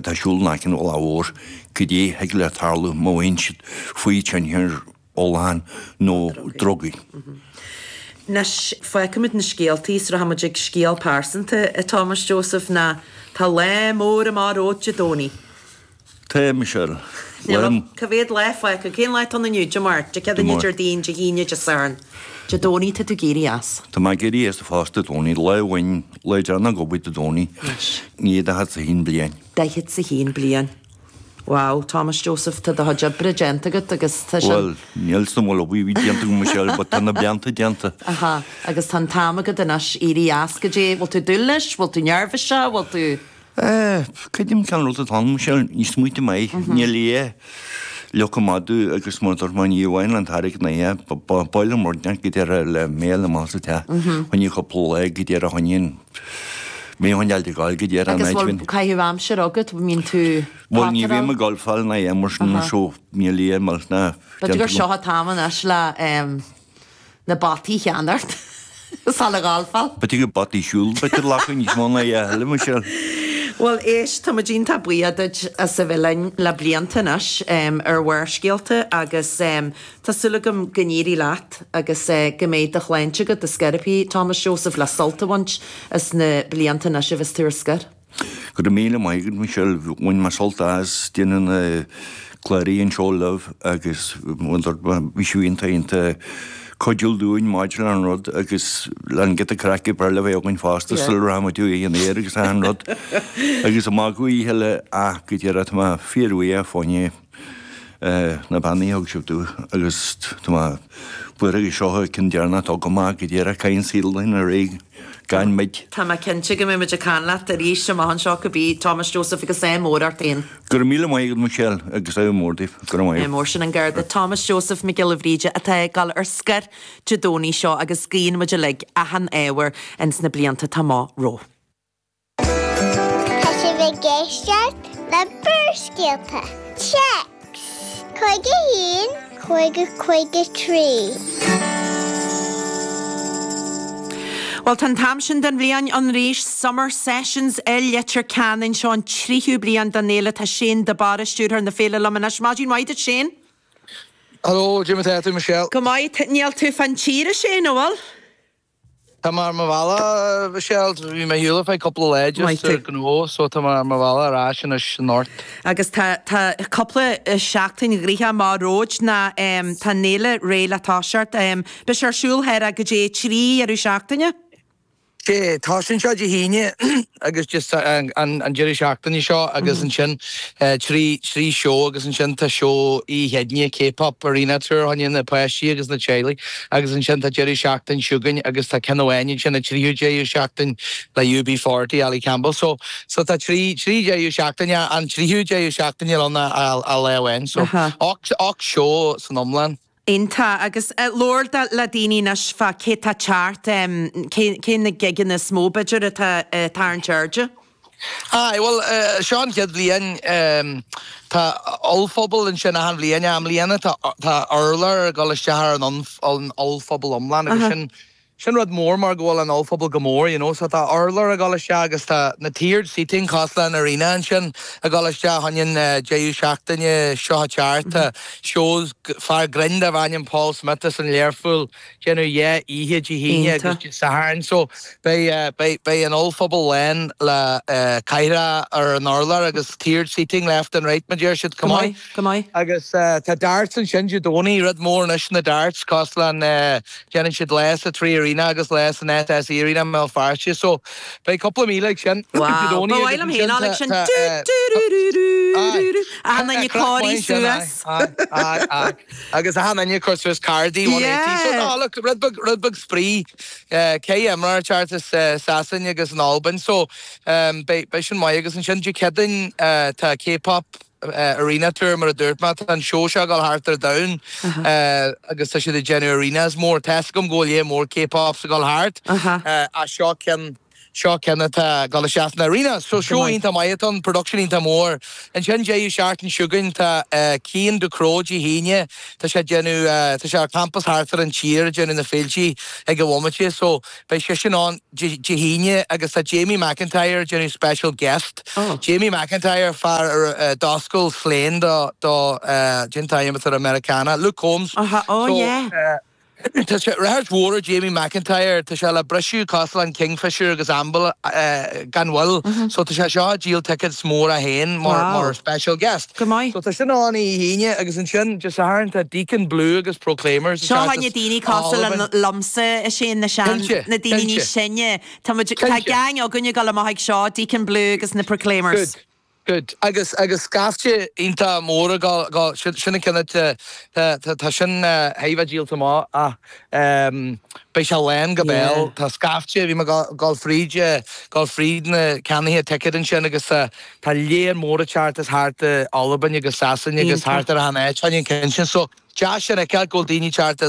atá ag siúl in aice an bhealaigh mhóir, cad é a thig le tarlú má bhíonn siad faoi tionchar ólacháin nó drugaí. Anois, fágfaimid na scéaltaí is rachaimid ag scéal pearsanta, a Thomas Joseph, ná tá lá mór amach romhat Dé Domhnaigh. Tá, Michelle. Lá. Cá mhéad lá fágtha? Cén lá atá ann inniu? Dé Máirt, Dé Céadaoine, Déardaoin, Dé hAoine, Dé Sathairn. Dé Domhnaigh tá tú ag éirí as. Tá mé ag éirí as fosta Dé Domhnaigh. Lá amháin, lá deireanach ag obair Dé Domhnaigh. Anois. I ndiaidh 41 bliain. 41 bliain. Wow, Thomas Joseph, tá do chuid oibre déanta agat agus tá sin. Bhuel, níl 's agam an bhfuil obair ar bith déanta agam Michelle, but tá na blianta déanta. Aha, agus tá an t-am agat anois éirí as, goidé, bhfuil tú ag dúil leis, bhfuil tú neirbhíseach, bhfuil tú. Eh, creidim cén rud atá ann Michelle, ní smaointe maith, níl a leoca madadh agus mar a dúirt mé ní amháin an t-airgead ná é, ba mhaith liom rud inteacht go deireadh le méal amach sa teach, choinne cúpla lá go deireadh choinne an Mé chun dul ag gabháil go dtí ar an Agus áit bhfuil bhinn. caitheamh aimsire agat, mbíonn tú Bhuel, ní bhím pátarál? ag golfáil ná aon mar sin so níl aon mhill ná B'fhéidir déanta gur agam. seo an t-am anois le na bataí a cheannacht sula gholfáil. B'fhéidir gur bataí siúil b'fhéidir leaca níos mó ná a thuilleadh, Michelle. Bhuel, éist, tá muid iontach buíoch duit as a bheith linn le blianta anois ar Bharrscéalta agus Tá súil agam go n-éirí leat agus go mbeidh do shláinte agat ar scor ar bith, Thomas Joseph, le sult a bhaint as na blianta anois a bheas tú ar scor. Go raibh míle maith agat, Michelle. Bhain mé sult as déanamh na cláraí anseo libh agus bhí sibh iontach iontach cuidiúil dúinn maidir le an rud agus le an giota craic ab fhearr le bheith againn fosta sula raibh muid uaidh an aer agus achan rud agus amach go oíche eile ach go deireadh tá mé fíorbhuíoch fá choinne na beannaí a thug sibh domh agus tá mé buartha go seo an ceann deireanach atá agam ach go díreach caithfidh an saol linn ar aghaidh gan muid. Tá mé cinnte go mbeidh muid ag caint leat arís amach anseo cibé, Thomas Joseph agus ádh mór ort féin. Go raibh míle maith agat Michelle agus ádh mór daoibh. Go raibh maith agat. Ádh mór sin an Garda Thomas Joseph Mac Giolla Bhríde atá ag dul ar scor Dé Domhnaigh seo agus guíonn muid uilig achan ádh air ins na blianta atá amach rompu. Tá sibh ag éisteacht le Barrscéalta. Téacs 51 50 53. Bhuel, tá an t-am sin den bhliain ann arís, Summer Sessions i Leitir Ceanainn. Seo an tríú bliain den fhéile. Tá Shane de Barra, stiúrthóir na féile liom anois. Maidin mhaith duit, Shane. Hello, goidé mar tá tú, Michelle. Go maith. Níl tú fán tír, a Shane, an bhfuil? Tá mé ar mo bhealach, Michelle. Bhí mé ar shiúl ar feadh cúpla lá just ar gnó so tá mé ar mo bhealach ar ais anois anocht. Agus tá tá cúpla seachtain ghnoitheach amach romhat ná tá an fhéile réidh le toiseacht. Beidh sé ar siúl thoir go dtí 3 dheireadh seachtaine. Sé, tosaíonn sé Dé hAoine agus just an deireadh seachtaine seo agus ansin 3 3 seó agus ansin tá seó Oíche Chéadaoine, K-pop Arena Tour fá choinne na páistí agus na teaghlaigh agus ansin tá deireadh seachtain chugainn agus tá ceann amháin ansin an tríú deireadh seachtain le UB40, Ali Campbell. So so tá 3 3 deireadh seachtaine, an tríú deireadh seachtaine ann a lá amháin. So 8 8 seó san iomlán. Iontach. Agus labhair le daoine anois fá cé tá ag teacht, cé cé na gigeanna is mó b'fhéidir atá ag tarraingt airde? Aye, bhuel, seo an chéad bhliain, tá ollphuball ansin achan bhliain, i mbliana tá tá urlár ag dul isteach ar an an ollphuball iomlán agus sin Sin rud mór mar go bhfuil an ollphuball go mór, you know, so tá urlár ag dul isteach agus tá na tiered seating cosúil le an arena ansin ag dul isteach fá choinne an deireadh seachtaine seo ag teacht. Tá shows, fear grinn darb ainm Paul Smith as an Learpholl déanamh dhá oíche Dé hAoine agus Dé Sathairn so beidh, beidh, beidh an ollphuball lán le cathaoireacha ar an urlár agus tiered seating left and right mar deir siad, Go maith. Go maith. Agus tá darts ansin Dé Domhnaigh, rud mór anois na darts cosúil le an, Déanann siad lá sa Three Arena agus lá san SSE Arena i mBéal Feirste so beidh cúpla míle ag sin Dé Wow, ba Domhnaigh mhaith agus liom féin ansin a fháil ag sin. tá Dú dú rú rú rú Aye, rú rú. Achan duine ag craic corraí maith ansin, aye, suas. aye, aye, aye. Agus achan duine ag cur suas cardaí 180 so Yeah. no look rud beag rud beag spraoi ceithre imreoir ag teacht as Sasain agus an Albain so beidh beidh sin maith agus ansin Dé Céadaoin tá K-pop Arena Tour mar a dúirt mé, tá an seó seo ag dul thart ar domhan agus tá siad ag déanamh arenas mór. Tá 'fhios agam go bhfuil lear mór K-pops ag dul thart ach seo ceann, Seo ceann atá ag dul isteach san arena. So seó iontach maith atá ann, production iontach mór. Ansin deireadh seachtain seo chugainn tá Cian Ducrot Dé hAoine, tá sé ag déanamh, tá sé ar campas thart ar an tír ag déanamh na féiltí ag an bhomaite so beidh seisean ann Dé hAoine agus tá Jamie McIntyre ag déanamh special guest. Jamie McIntyre, fear a d'oscail Slane do, do, cén t-ainm atá ar an Meiriceánach, Luke Combs. Oh yeah. Tá sé ráchairt mhór ar Jamie McIntyre, tá sé le briseadh cosúil le an Kingfisher agus Amble gan mhoill so tá sé seo ag díol tickets móra féin mar special guest. Go maith. So tá sin ann Oíche hAoine agus ansin Dé Sathairn tá Deacon Blue agus Proclaimers Seo fá choinne daoine cosúil liomsa a Shane na sean, na daoine níos sine. Tá muid, tá gang againn ag dul amach ag seo, Deacon Blue agus na Proclaimers. Good. Good. Agus, agus scaifte iontach mór ag dul, dul, sin, sin an ceann atá, tá, tá, tá sin thar a bheith díolta amach ach ehm beidh sé lán go béal. Tá scaifte, bhí mé ag dul fríd, dul fríd na ceannaithe ticéad ansin agus tá, tá léar mór ag teacht as thart i Albain agus Sasain agus thart ar achan áit fá choinne an ceann sin. So Deas sin a fheiceáil go bhfuil daoine ag teacht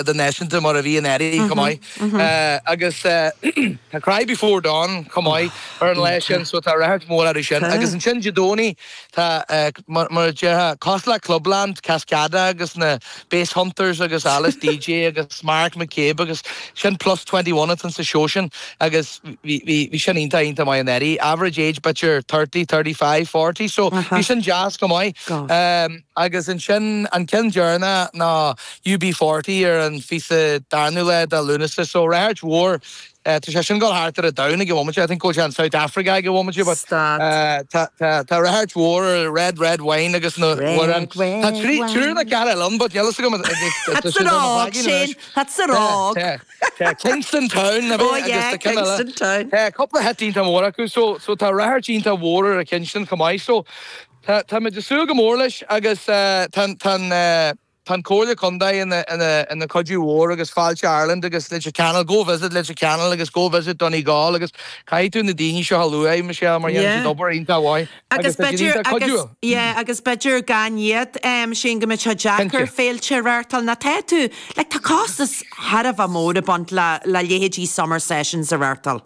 idirnáisiúnta mar a bhí anuraidh chomh maith. Agus tá Cry Before Dawn chomh maith ar an lá sin so tá ráchairt mhór orthu sin. Agus ansin Dé Domhnaigh tá mar a déarfá cosúil le Clubland, Cascada agus na Basshunters agus Alice Deejay agus Mark McCabe agus sin Plus 21 atá sa seó sin agus bhí sin iontach iontach maith anuraidh. Average age b'fhéidir 30, 35, 40 so bhí sin deas chomh maith. Agus ansin an ceann deireanach ná UB40 ar an fiche darnú lá de Lúnasa. So ráchairt mhór. Tá sé sin ag dul thart ar an domhan ag an bhomaite. I think go bhfuil sé in South Africa ag an bhomaite but tá tá ráchairt mhór ar Red Red Wine agus na Red Red Tá triúr nó ceathrar eile ann but níl fhios agam Tá siad ar mo shláigín anois. Tá sa rág. Tá Kingston Town oh yeah Kingston Town. Tá cúpla hit iontach mór acu so so tá ráchairt iontach mhór ar an cheann sin chomh maith. So Tá táimid ag súil go mór leis agus tá tá tá an Comhairle Contae ina ina ina cuidiú mhór agus Fáilte Ireland agus Leitir Ceanainn, Go Visit Leitir Ceanainn agus Go Visit Donegal agus caithfidh tú na daoine seo a lua, Michelle, mar dhéanann siad obair iontach mhaith agus tá siad b'fhéidir iontach agus cuidiúil. yeah agus b'fhéidir gan iad Shane go mbeadh sé deacair Cinnte. féilte a reáchtáil nó tá tú like tá costas thar a bheith mór ag baint le le leithéidí Summer Sessions a reáchtáil.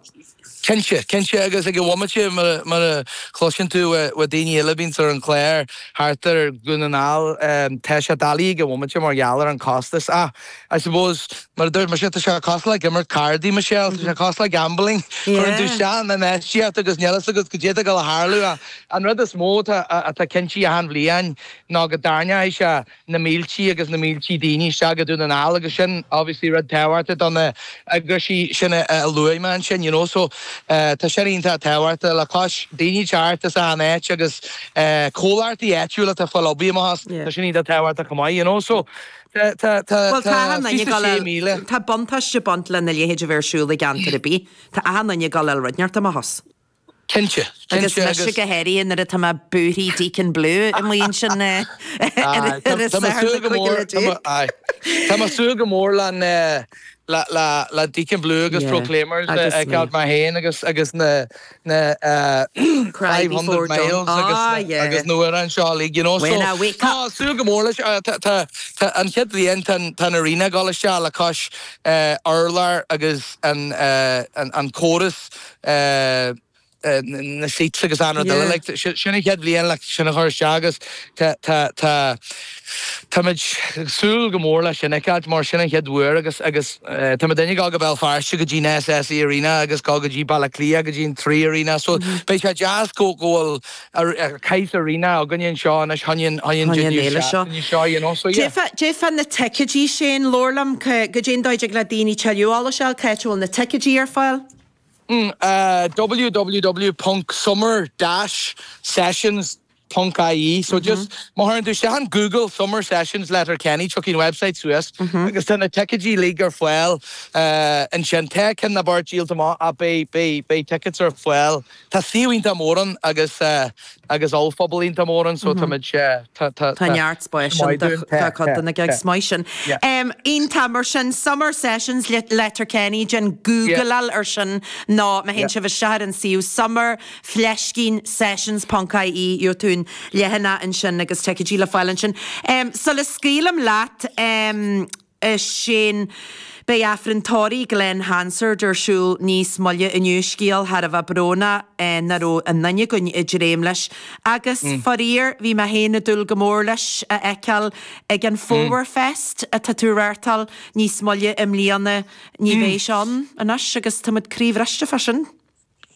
Cinnte, cinnte, agus ag an bhomaite, mar a chloiseann tú ó daoine eile a bhíonns ar an chlár thart ar Dhún na nGall, tá sé doiligh ag an bhomaite mar gheall ar an costas. Ach, I suppose, mar a dúirt mise, tá sé cosúil le imirt cárdaí, Michelle, tá sé cosúil le gambling, cuireann tú isteach an infheistíocht agus níl fhios agat goidé atá ag dul a tharlú ach an rud is mó atá cinnte achan bhliain ná go dtarraingeoidh sé na míltí agus na míltí daoine isteach go Dún na nGall agus sin obviously rud tábhachtach do na eagraisí sin a luaigh mé ansin you know so tá sin iontach tábhachtach le cois daoine teacht as achan áit agus comhlachtaí áitiúla atá ag fáil obair amach as tá sin iontach tábhachtach chomh maith you know so tá tá tá Bhuel tá achan duine ag dul 26,000. Tá buntáiste ag baint lena leithéid a bheith ar siúl i gceantar ar bith. Tá achan duine ag dul a fháil rud inteacht amach as. Cinnte, Agus cinnte mise agus. go háirithe nuair atá mé buartha Deacon Blue amuigh ansin ar Aye, tá an tá mé Satharn súil na go mór, 15 tá mé, aye, tá mé súil go mór le na, le, le, le Deacon Blue agus Yeah, Proclaimers a agus fheiceáil mé. mé féin agus, agus na, na eh, Cry 500 Before Dawn. Miles agus Ah, na, yeah. agus na hamhráin seo uilig, you know, so When I wake up. tá súil go mór leis, eh, tá, tá, tá an chéad bhliain tá an, tá an arena ag dul isteach le cois eh, urlár agus an, eh, an, an córas na seats agus an rud eile. Like, sin an chéad bhliain le sin a chur isteach agus tá, tá, tá, táimid ag súil go mór leis sin a fheiceáilt mar sin an chéad uair agus, agus tá muidinne ag dul go Béal Feirste go dtí an SSE Arena agus dul go dtí Baile Átha Cliath go dtí an Three Arena so beidh sé deas go, go bhfuil saghas arena againne anseo anois chun an, chun an fhéile seo. seo, you know, so yeah. Goidé fá na ticéidí Shane, labhair liom, goidé an dóigh a dtig le daoine tuilleadh eolais a fháil, cá háit a bhfuil na ticéidí ar fáil? www.summer-sessions.ie So just má chuireann tú isteach in Google Summer Sessions Letterkenny tiocfaidh an website suas agus tá na ticéidí uilig ar fáil ansin. Tá ceann nó beirt díolta amach ach beidh beidh beidh tickets ar fáil. Tá suíomh iontach mór ann agus agus ollphuball iontach mór ann so táimid tá tá Tá neart spáis ann do chuid de na gigs maith sin. Iontach mar sin Summer Sessions Letterkenny déan Googleáil ar sin nó má théann sibh isteach ar an suíomh summer fleiscín sessions ponc ie gheobhaidh tú an leathanach ansin agus ticéidí le fáil ansin. Sula scaoilim leat a Shane. Beidh Aifreann tórraimh Glen Hansard ar siúl níos moille inniu, scéal thar a bheith brónach nach raibh aon duine againn ag dréim leis. Agus, faraor, bhí mé féin ag dúil go mór leis a fheiceáil ag an Fómhar Fest atá tú a reáchtáil níos moille i mbliana. Ní bheidh sé ann anois agus tá muid croíbhriste fá sin.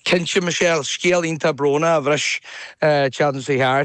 Cinnte, Michelle, scéal iontach brónach a bhris an tseachtain seo chuaigh thart.